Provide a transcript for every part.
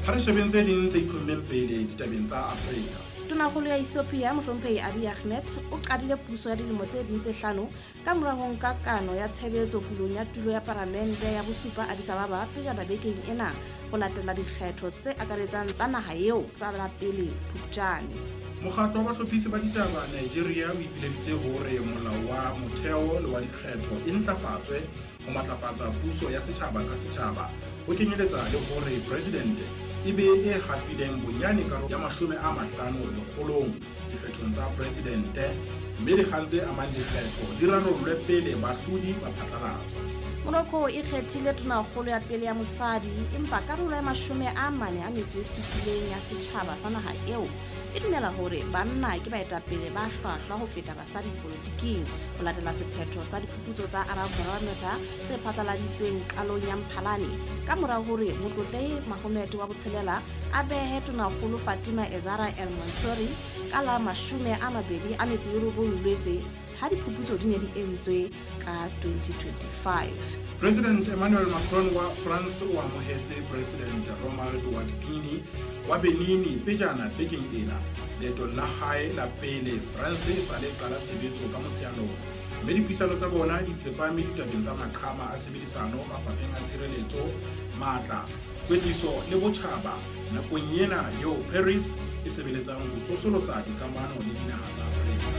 Ha re shebeng tse ding tse itlhommeng pele ditabeng tsa Afrika. Tonakgolo ya Ethiopia Mohlomphehi Abiy Ahmed o qadile puso ya dilemo tse ding tse hlano ka mora ho nka kano ya tshebetso pulong ya tulo ya paramente ya bosupa Addis Ababa pejana bekeng ena ho latela dikgetho tse akaretsang tsa naha eo tsa la pele Phupjane. Mokgatlo wa bahlophisi ba ditaba Nigeria o ipileditse hore molao wa motheo le wa dikgetho e ntlafatswe ho matlafatsa puso ya setjhaba ka setjhaba, ho kenyeletsa le hore presidente e be e hapileng bonyane karolo ya 50 lekgolong dikgethong tsa presidente, mme dikgang tse amang dikgetho di rarollwe pele bahlodi ba phatlalatswa. Morocco e kgethile tonakgolo ya pele ya mosadi, empa karolo ya 47 ya setjhaba sa naha eo e dumela hore banna ke baetapele ba hlwahlwa ho feta basadi dipolotiking, ho latela sephetho sa diphuputso tsa Arab Barometer tse phatlaladitsweng qalong ya Mphalane ka mora hore Motlotlehi Mohammed wa botshelela a behe tonakgolo Fatima Ezara El Mansouri ka la 29 Lwetse ha diphuputso di ne di entswe ka 2025. President Emmanuel Macron wa France o amohetse President Romuald Wadagni wa Benin pejana bekeng ena leetong la hae la pele France e sa le qala tshebetso ka Motsheanong, mme dipuisano tsa bona di tsepame ditabeng tsa maqhama a tshebedisano mafapheng a tshireletso, matla, kwetliso le botjhaba nakong ena eo Paris e sebeletsang ho tsosolosa dikamano le dinaha tsa Afrika.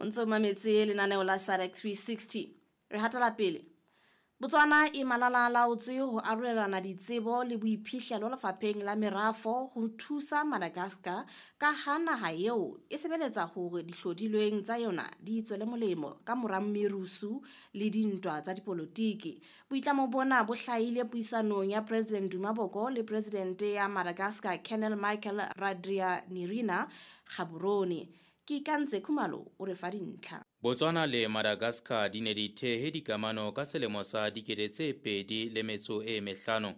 O ntse o mametse lenaneo la SADC 360. Re hatela pele. Botswana e malala-a-laotswe ho arolelana ditsebo le boiphihlelo lefapheng la merafo ho thusa Madagascar ka ha naha eo e sebeletsa hore dihlodilweng tsa yona di tswele molemo ka mora merusu le dintwa tsa dipolotiki. Boitlamo bona bo hlahile puisanong ya President Duma Boko le President ya Madagascar Colonel Michael Randrianirina Gaborone. Ke Ikantse Khumalo o re fa dintlha. Botswana le Madagascar di ne di thehe dikamano ka selemo sa 2005,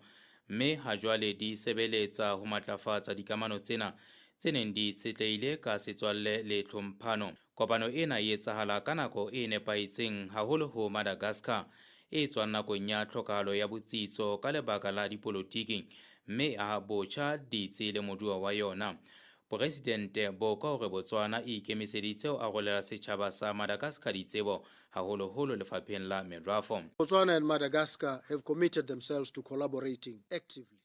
mme ha jwale di sebeletsa ho matlafatsa dikamano tsena tse neng di itshetlehile ka setswalle le tlhomphano. Kopano ena e etsahala ka nako e nepahetseng haholo ho Madagascar e tswang nakong ya tlhokahalo ya botsitso ka lebaka la dipolotiki, mme a botjha ditsi le moduwa wa yona. Presidente Boko hore Botswana e ikemiseditse ho arolela setjhaba sa Madagascar ditsebo haholoholo lefapheng la merafo. Botswana and Madagascar have committed themselves to collaborating actively.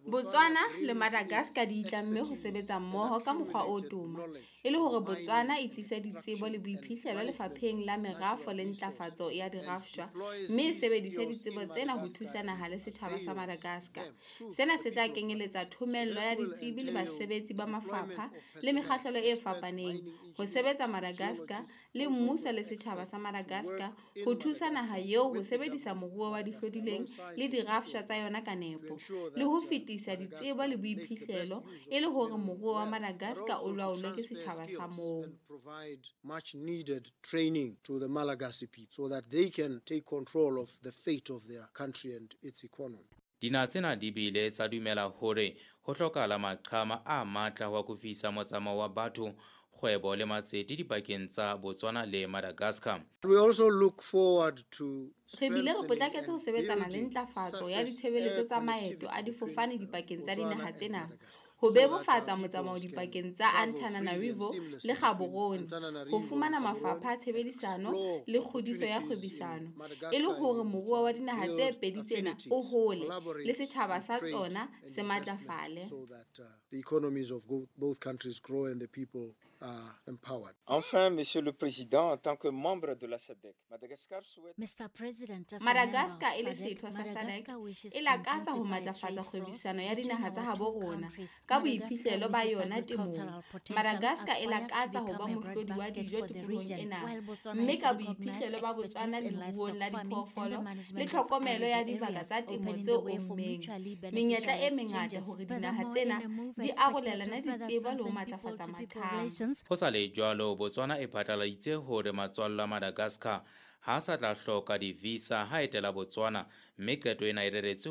Botswana le Madagascar di itlamme ho sebetsa mmoho ka mokgwa o toma e le hore Botswana e tlise ditsebo le boiphihlelo lefapheng la merafo le ntlafatso ya dirafshwa, mme e sebedise ditsebo tsena ho thusa naha le setjhaba sa Madagascar. Sena se tla kenyeletsa thomello ya ditsebi le basebetsi ba mafapha le mekgahlelo e fapaneng ho sebetsa Madagascar le mmuso le setjhaba sa Madagascar ho thusa naha eo ho sebedisa moruo wa dihlodilweng le dirafshwa tsa yona ka nepo le ho fetisa ditsebo le boiphihlelo e le hore moruo wa Madagascar o laolwe ke setjhaba sa moo. Provide much needed training to the Malagasy people so that they can take control of the fate of their country and its economy. Dinaha tsena di bile tsa dumela hore ho hlokahala maqhama a matla ho akofisa motsamao wa batho, kgwebo le matsete dipakeng tsa Botswana le Madagascar. We also look forward to Re bile re potlaketse ho sebetsana le ntlafatso ya ditshebeletso tsa maeto a difofane dipakeng tsa dinaha tsena, ho bebofatsa motsamao dipakeng tsa Antananarivo le Gaborone, ho fumana mafapha a tshebedisano le kgodiso ya kgwebisano, e le hore moruo wa dinaha tse pedi tsena o hole le setjhaba sa tsona se matlafale. So that the economies of both countries grow and the people are empowered. Enfin, Monsieur le Président, en tant que membre de la SADC, Madagascar souhaite Mr. President, as a Madagascar member e le of SADC, setho sa SADC Madagascar wishes e to lakatsa ho intensify matlafatsa trade flows kgwebisano ya between dinaha tsa our habo two rona countries. ka Madagascar boiphihlelo ba with its yona temong. agricultural potential Madagascar e aspires to lakatsa ho ba become a mohlodi wa breadbasket dijo for the tikolohong region, ena, while Botswana mme is ka recognized boiphihlelo ba Botswana expertise in leruong livestock la farming and the diphoofolo le management of tlhokomelo ya arid dibaka areas, tsa temo opening tse the way for ommeng. mutually Menyetla beneficial e mengata exchanges. hore dinaha Furthermore, tsena in a move di expected to arolelane further ditsebo le ho strengthen matlafatsa people-to-people maqhama. relations, Ho sa le jwalo, Botswana e phatlaladitse hore matswalla a Madagascar ha sa tla hloka di-visa ha etela Botswana, mme qeto ena e reretswe